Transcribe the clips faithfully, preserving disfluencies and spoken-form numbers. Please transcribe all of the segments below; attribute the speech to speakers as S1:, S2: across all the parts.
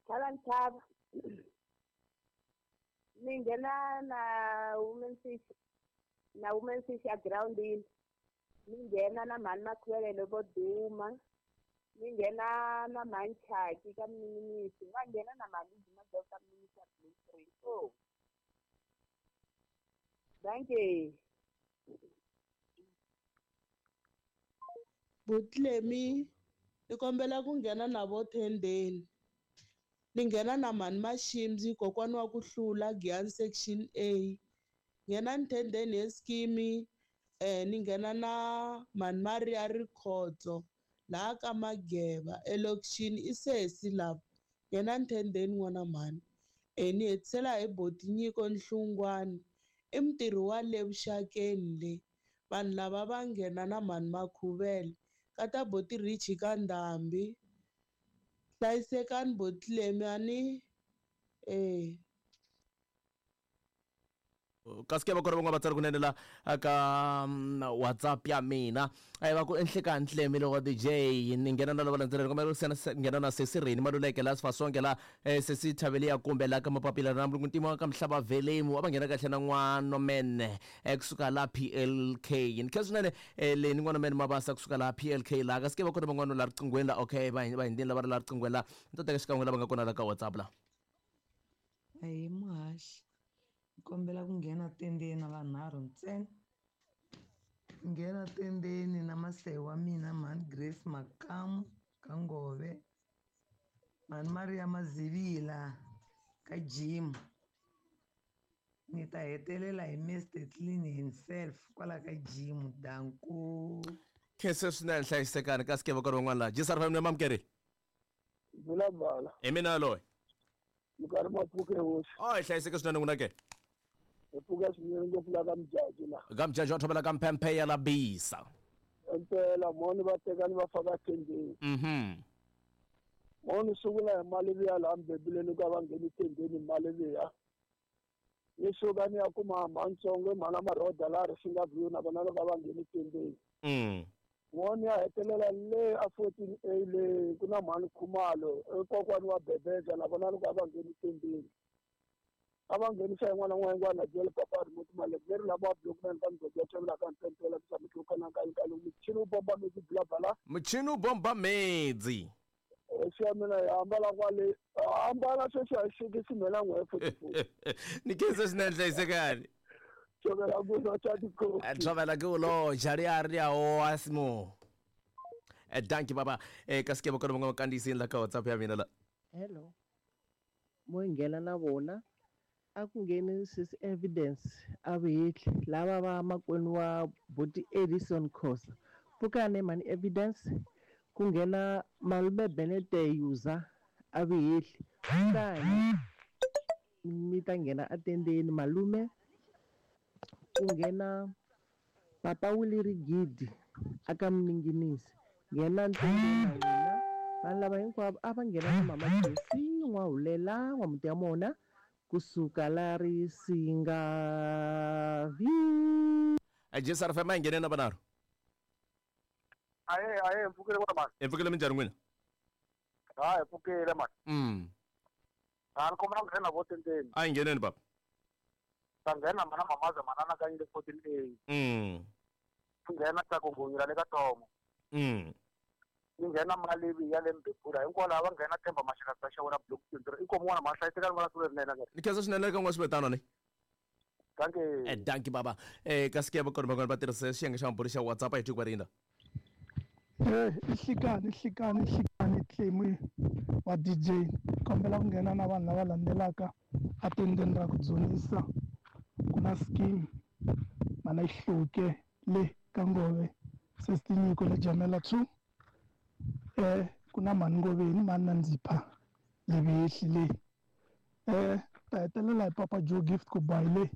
S1: Tlhava ntshava. Ni nghena na women fish na women fish a groundini. Ni nghena na mhani Makhwelele vo duma. Ni nghena na mhani Chaki ka Mninginisi. Va nghena na mhani Duma ka Mninginisi ya Blue Three. Oh. Dankie.
S2: Butlemi ni kombela ku nghena na vo Thendeni. Ni nghena na mhani Mashimzi kokwani wa ku hlula Giyani section A. Nghena ni Thendeni hi scheme eh ni nghena na mhani Maria Rikhotso laha ka Mageva elokixini i sesi lava. Nghena ni Thendeni n'wana mhani. Eh ni hetisela hi boti Nyiko Nhlungwani i mutirhi wa le vuxakeni le. Vanhu lava va nghena na mhani Makhuvele ka ta boti Richie ka Ndhambi. Hlayisekani Botlemi ani eh
S3: kasi ke va kona van'wana vatsari kunene la ka WhatsApp ya mina a va ku enhlekani Ntlemi loko D J ni nghena na lava landzeleni kumbe nghena na sesi Rini Maluleke la Sifasonke la sesi Thavelia kumbe la ka Mapapila na Mulungu Ntima ka Mhlaba Velemu va nghena kahle na n'wana men kusuka la P L K ni khensa swinene le ni n'wana men Mabasa kusuka la P L K la kasi ke va kona van'wana la riqinghweni la okay va va hindini lava ri la riqinghweni la ni ta teka xikan'we lava nga kona la ka WhatsApp la
S4: ayi muhaxi kombela ku nghena tendeni na vanharhu ntsena. Nghena tendeni na masehi wa mina mhani Grace Makamu ka Ngove, mhani Maria Mazivila ka Jim. Ni ta hetelela hi Mister Clean himself kwala ka Jim. Danko.
S3: Khensa swinene hlayisekani kasi ke va kona van'wana la G S R F M mamukeri.
S5: Vula bala.
S3: Hi mina loyi.
S5: Minkarhi mapfuke hosi.
S3: Oh, hlayiseke swinene n'wina ke.
S5: Hi pfuka swinene ngopfu la ka Mjaji la.
S3: Ka Mjaji wa thobela ka Mphemphe ya la bisa.
S5: Impela moni va tekani va faka tendeni.
S3: Mhm.
S5: Moni sungula hi mali ya laha Mbebuleni ka va ngheni tendeni mali ya. Ni suka ni ya kuma Mantsongo mhana Maroda laha Risinga View na vona loko va ngheni tendeni.
S3: Mm.
S5: Moni ya hetelela le a fourteen A le ku na mhani Khumalo kokwani wa Bebeza na vona loko va ngheni tendeni. A va nghenisa yin'wana na yin'wana byela papa remote mali leri lava block man ka ndzodzo ya ka ntentela ku tshama ku kana ka ka muchini wu bomba medzi bla bla
S3: muchini wu bomba medzi
S5: hosi ya mina ya ambala kwale ambala sweswi a xikisi mina n'we forty-four
S3: ni khensa swinene hlayisekani
S5: tshovela ku lo cha tiko
S3: tshovela ku lo jari a ri a o asimo eh dankie baba eh kasi ke va kona van'wana kandziyisini la ka WhatsApp ya mina la
S6: hello mo nghena na vona a ku ngheni sis Evidence a vehli lava va makwenu wa buti Edison Khosa pfukane mani Evidence ku nghena malume Benete Yuza a vehli kani mi ta nghena atendeni malume ku nghena papa Willie Rigidi aka Mninginisi nghena ntendeni na n'wina vanhu lava hinkwavo a va nghena na mama Jesi N'wahulela n'wamuti ya mona kusuka la Risinga View.
S3: G S R F M a nghene na vanharhu.
S5: Aye aye mpfukile n'wana mani.
S3: Hi pfukile minjhani n'wina?
S5: Ha hi pfukile mani.
S3: Mm.
S5: Ha ni kombela ku nghena vo tendeni.
S3: A hi ngheneni baba.
S5: Ta nghena mana Mamaza manana ka yile fourteen A.
S3: Mm.
S5: Nghena ta ku ngonyela le ka Tomo.
S3: Mm.
S5: Ni nghena Malivi ya le Mbebula hinkwavo lava va nghena Themba Mashaka ta xewela block twenty-three inkomu n'wana ma hlayisekani va siku lerinene ke.
S3: Ni khensa swinene ka n'wana swivetano ni.
S5: Dankie.
S3: Eh dankie baba. Eh kasi ke va kona van'wana va tirhisa xiyenge xa mabulu xa WhatsApp a hi twi ku va rinda.
S7: Eh ihlikani ihlikani ihlikani Tlemi wa D J kombela ku nghena na vanhu lava landzelaka a tendeni ra ku dzunisa ku na scheme mana ihluke le ka Ngove sesi Nyiko le Jamela two eh ku na mhani Ngoveni mhani Nandzipha le vehli le eh ta hetelela hi papa Joe Gift ku bayi le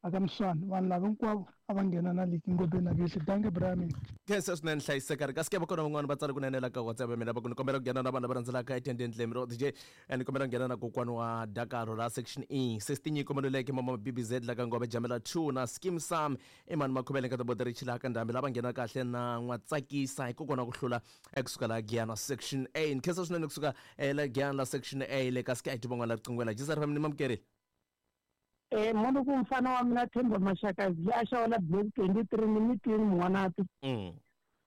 S7: aka Mswana vanhu lava hinkwavo a va nghena na liki ngopeni na vihli danke Brian.
S3: Khensa swinene hlayiseka ri kasi ke va kona van'wana va tsala kunene la ka WhatsApp ya mina va ku ni kombela ku nghena na vanhu lava rhandzelaka etendeni Lemro D J ni kombela ku nghena na kokwana wa Dakaro la section E sixteen Nyiko Maluleke mama B B Z la ka Ngove Jamela two na Skim Sam Emani Makhubele ka Toboderi Chila ka Ndhambi lava nghena kahle na N'watsakisa hi kokwana ku hlula ekusuka la Giyana section A. Khensa swinene kusuka la Giyana la section A le kasi ke a hi van'wana la riqingweni la J S R F M ni mamukerile.
S8: Eh munhu ku mfana wa mina Themba Mashakazi a xawula block twenty-three ni mitini n'wanati.
S3: Mm.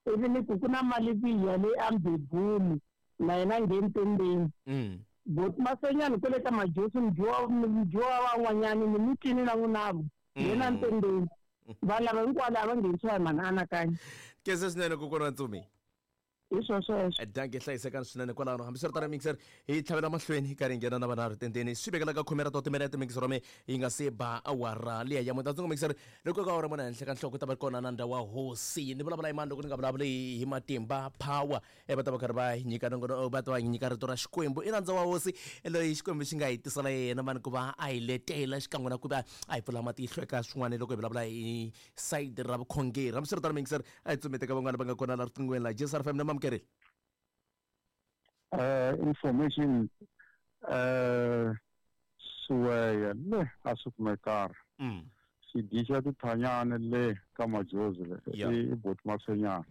S8: Ivi ni ku ku na mali biya leyi a mbebuni na yena ngheni tendeni.
S3: Mm.
S8: Bot masenyani kwele ka majosi mdyowa mdyowa van'wanyani ni mitini na n'winavo yena ntendeni. Vanhu lava hinkwavo lava nghenisiwa hi mhani anakanya.
S3: Khensa swinene kokwana wa Ntsumi.
S8: Hi swo sweswo.
S3: Danke hlayisekani swinene kwalano hambiswiritano mixer hi tlhavela mahlweni hi karhi hi nghena na vanharhu tendeni swi vekela ka khume ra to timinete mixer wa me yi nga se ba awara liya ya muta tsongo mixer loko ka awara mona henhla ka nhloko ta va kona na ndhawu wa hosi ni vulavula hi mani loko ni nga vulavuli hi matimba power e va ta va karhi va hi nyika nongono va ta va nyika rito ra Xikwembu i nandza wa hosi loyi Xikwembu xi nga hi tisela yena mani ku va a hi letela xikan'we na ku va a hi pfula matihlo eka swin'wana loko hi vulavula hi side ra vukhongeri hambiswiritano mixer a hi tsumete ka van'wana va nga kona la riqingweni la J S R F M na mamukerile.
S9: Uh, information uh, suweya le a swi kumekara
S3: mm.
S9: xidyi tithanyana le ka majozi le i boti masenyana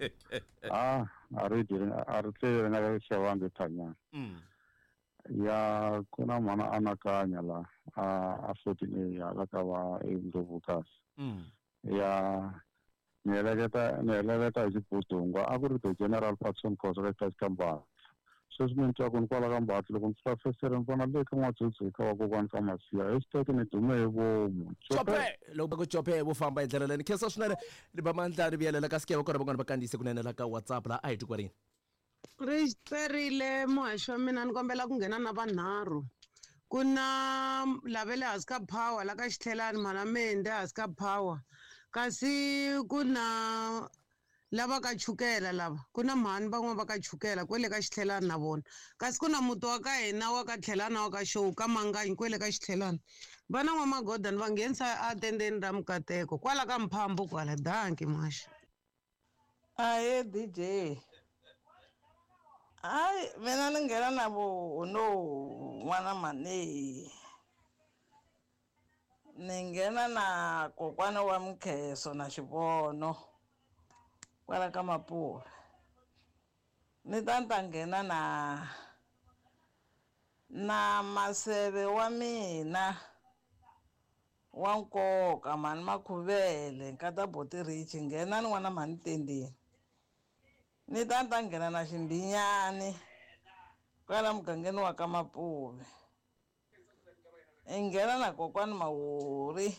S9: a a ri a ri tlele na xavangi thanyana ya ku na mhana anakanya la a a fourteen A ya la ka va eNdlovukasi ya ni heleketa ni heleketa hi xibudungwa a ku ri the General Patson Khosa ka Xikambana sweswi ni twa ku ni kwala ka Mbatsi loko ni fika fesere ni vona le ka N'wadzudzu ka vakokwani ka Masiya hashtag ni dume hi vomu
S3: Chope loko va ku chope vo famba hi ndlela leyi ni khensa swinene ni ba mandla ri vuyelela kasi ke va kona van'wana va kandziyise kunene la ka WhatsApp la a hi tikwarini
S10: ri perile muhaxi wa mina ni kombela ku nghena na vanharhu ku na lavele hansi ka power la ka Xitlhelani mhana Mende hansi ka power kasi ku na lava ka chukela lava ku na mhani van'wana va ka chukela kwele ka Xitlhelani na vona kasi ku na muti wa ka hina wa ka Tlhelana wa ka Show ka Manganyi kwele ka Xitlhelani va na n'wamagodani va nghenisa atendeni ra Mukateko kwala ka Mphambo kwala danki muhaxi.
S11: Ahe D J hayi mina ni nghena na vo no n'wana mani ni nghena na kokwana wa Mkheso na Xivono kwala ka Mapula ni ta ni ta nghena na na maseve wa mina wa nkoka mhani Makhuvele nkata Boti Richi nghena ni n'wana mhani Tendeni ni ta ni ta nghena na Ximbinyani kwala mugangeni wa ka Mapuve i nghena na kokwani Mawuri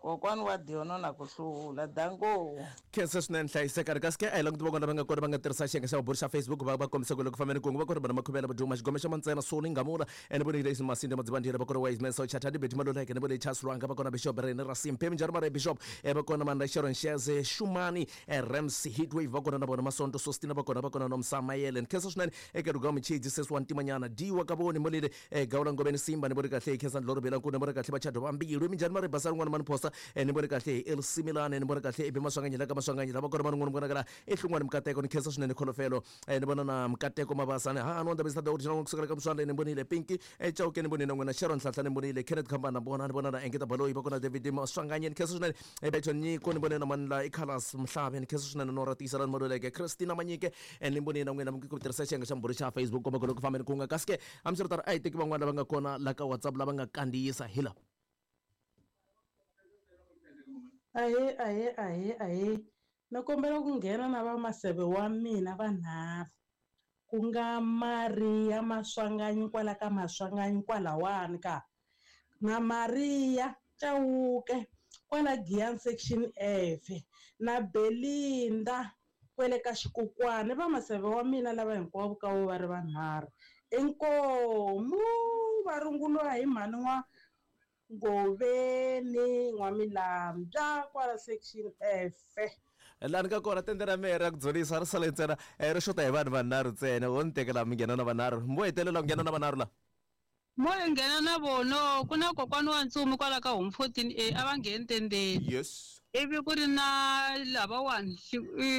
S11: kokwani wa Diono na ku hlula danko.
S3: Khensa swinene hlayiseka ri kasi ke a hi languti van'wana va nga kona va nga tirhisa xiyenge xa vuburi xa Facebook va va kombisa ku loko fambeni kungu va kona vana Makhuvela Vaduma Xigome xa Mantsena Soni Ngamula ene voni Lexi Masinde Madzivandlela va kona Wise Man Socha Thandi Beti Maluleke ne voni Charles Lwanga va kona Bishop Rene Rasimpe Minjhani Mare Bishop va kona Manda Sharon Sheze Shumani Rams Heatwave va kona na vona Masonto Sostina va kona va kona Nomsa Mayele. Khensa swinene eka Rugama Chidzi Seswa Ntimanyana Diwa Kaboni Molile Gawula Ngobeni Simba ni voni kahle Khensa Ndloro Bela Nkuna voni kahle Vachado Vambilu Minjhani Mare Basari n'wana Mani Phosa ni voni kahle El Similane ni voni kahle Ibe Maswanganyi la ka Maswanganyi lava kona van'wana vonakala ehlungwani Mukateko ni khensa swinene Kholofelo ni vona na Mukateko Mabasani ha no ndabisa the original kusukela ka Mswanda ni vonile Pinky Chauke ni vonile n'wina Sharon Nhlanhla ni vonile Kenneth Khambana vona ni vona na Engeta Baloyi va kona David Maswanganyi ni khensa swinene Beto Nyiko ni vonile na Manla Ikhalas Mhlabe ni khensa swinene Nora Tisela ni Maluleke Christina Manyike ni vonile na n'wina ku tirhisa xiyenge xa mbhuri xa Facebook komba ku loko fambeni ku nga kasi ke hambiswiritano a hi teki van'wana lava nga kona la ka WhatsApp lava nga kandziyisa hi lava.
S12: Ahe ahe ahe ahe ni kombela ku nghena na va maseve wa mina vanharhu ku nga Maria Maswanganyi kwala ka Maswanganyi kwalawani ka na Maria Chauke kwala Giyani section F na Belinda kwele ka Xikukwana va maseve wa mina lava hinkwavo ka vo va ri vanharhu inkomu va runguriwa hi mhani wa Ngoveni N'wamilambya kwala section F.
S3: Laha ni ka kona tende ra mehe ra ku dzunisa ri sale ntsena ri xota hi vanhu vanharhu ntsena wo ni tekela mi nghena na vanharhu mo hetelela ku nghena na vanharhu la.
S13: Mo hi nghena na vono ku na kokwana wa ntsumi kwala ka home fourteen A a va ngheni tendeni.
S3: Yes.
S13: Ivi ku ri na lavawani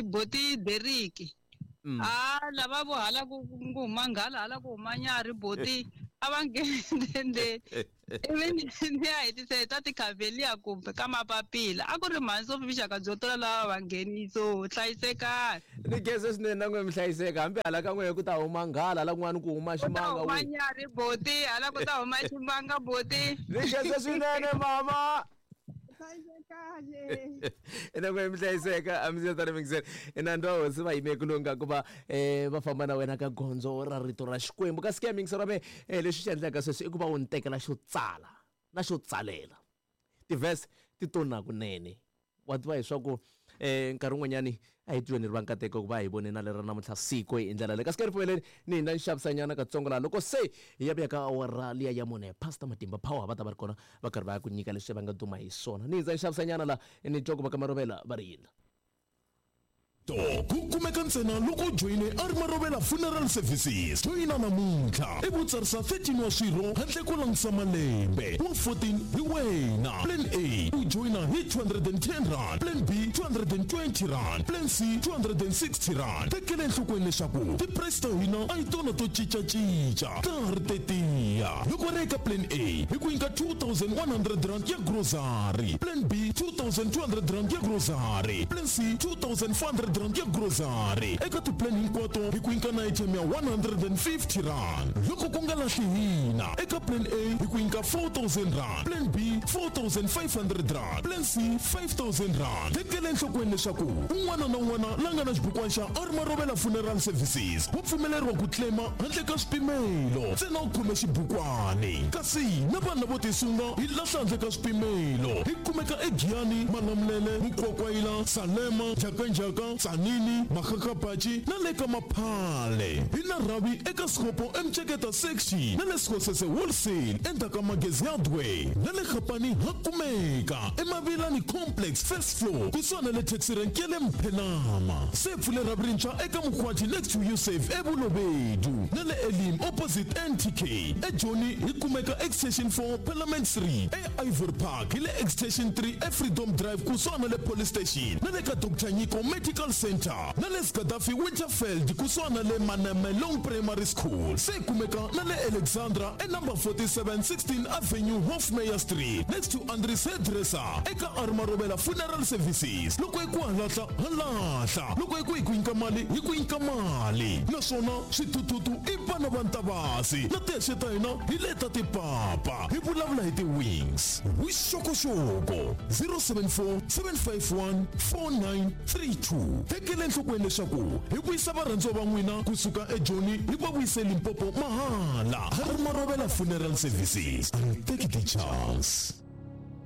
S13: boti Deriki.
S3: Mm.
S13: Ah lava vo hala ku ku huma nghala hala ku huma nyarhi boti a va ngheni tendeni. Ivi ni ya hetisa hi ta tikhavelia kumbe ka mapapila a ku ri mhani Sophie vuxaka byo tola lava va ngheniso hlayisekani.
S3: Ni khensa swinene na n'we mi hlayiseka hambi hala ka n'wehe ku ta huma nghala hala kun'wana ku huma
S13: Ku ta
S3: ximanga
S13: huma
S3: we.
S13: nyarhi boti hala ku ta huma ximanga boti.
S3: Ni khensa swinene mama.
S13: Hlayisekani.
S3: Ina n'we mi hlayiseka a mi se tani mingiseni ina ndo hosi va yime ku lunga ku va eh va famba na wena ka gondzo ra rito ra Xikwembu kasi ke ya mingiselo me eh leswi xi endlaka sweswi i ku va u ni tekela xo tsala na xo tsalela ti-verse ti tona kunene wa tiva leswaku eh nkarhi wun'wanyani a hi tweni ri va nkateko ku va hi vone na lera namuntlha siku hi ndlela leyi kasi ke ripfumeleni ni hina ni xavisanyana katsongo laha loko se hi ya vuya ka awara liya ya mune Pastor Matimba Power va ta va ri kona va karhi va ya ku nyika leswi va nga duma hi swona ni hindza ni xavisanyana laha ni twa ku va ka Marovela va ri yini.
S14: To ku kumeka ntsena loko u joyine a ri Marovela Funeral Services. Joyina namuntlha i vutsarisa thirteen wa swirho handle ko langutisa malembe wa fourteen hi wena. Plan A u joyina hi two hundred and ten rand, Plan B two hundred and twenty rand, Plan C two hundred and sixty rand. Tekela enhlokweni leswaku ti-price ta hina a hi tona to cincacinca ta ha ri tetiya. Loko ri eka Plan A hi ku nyika two thousand one hundred rand ya grocery, Plan B two thousand two hundred rand ya grocery, Plan C two thousand four hundred rand ya grocery. Eka ti-plan hinkwato hi ku nyika na item ya one hundred and fifty rand. Loko ku nga lahli hina eka Plan A hi ku nyika four thousand rand, Plan B four thousand five hundred rand, Plan C five thousand rand. Tekela enhlokweni leswaku un'wana na un'wana la nga na xibukwana xa a ri Marovela Funeral Services wa pfumeleriwa ku claima handle ka swipimelo ntsena u khome xibukwani. Kasi na vanhu lavo tisunga hi lahla handle ka swipimelo hi kumeka eGiyani, Malamulele, Mukwakwayila, Salema, Njhakanjhaka, Tsanini, Makgakgapachi na le ka Maphale. Hi na rhavi eka Sikopo eMceketa section na le Sekgosese Wholesale endzhaku ka Magezi Hardware na le Gapani ha kumeka eMavilani Complex first floor kusuhana le taxi rank ya le Mphenama. Se pfule rhavi rintshwa eka Mkhwati next to Usave eBulobedu na le Elim opposite N T K. eJoni hi kumeka extension four Parliament Street, eIvory Park hi le extension three eFreedom Drive kusuhana le police station na le ka Doctor Nyiko Medical Center na le Gaddafi Winterfeld kusuhana le Manamelong Primary School. Se kumeka na le Alexandra e number forty-seven sixteen Avenue Hofmeyr Street next to Andries Hairdresser eka Armarovela Funeral Services. Loko hi ku halahla halahla, loko hi ku hi ku nyika mali hi ku nyika mali, naswona swithuthuthu i vana va Ntavasi na tihexe ta hina hi leta tipapa hi vulavula hi ti-wings. Vuxokoxoko zero seven four seven five one four nine three two. Tekela enhlokweni leswaku hi vuyisa varhandziwa va n'wina kusuka eJoni hi va vuyise Limpopo mahala. Har Marovela Funeral Services, and take the chance.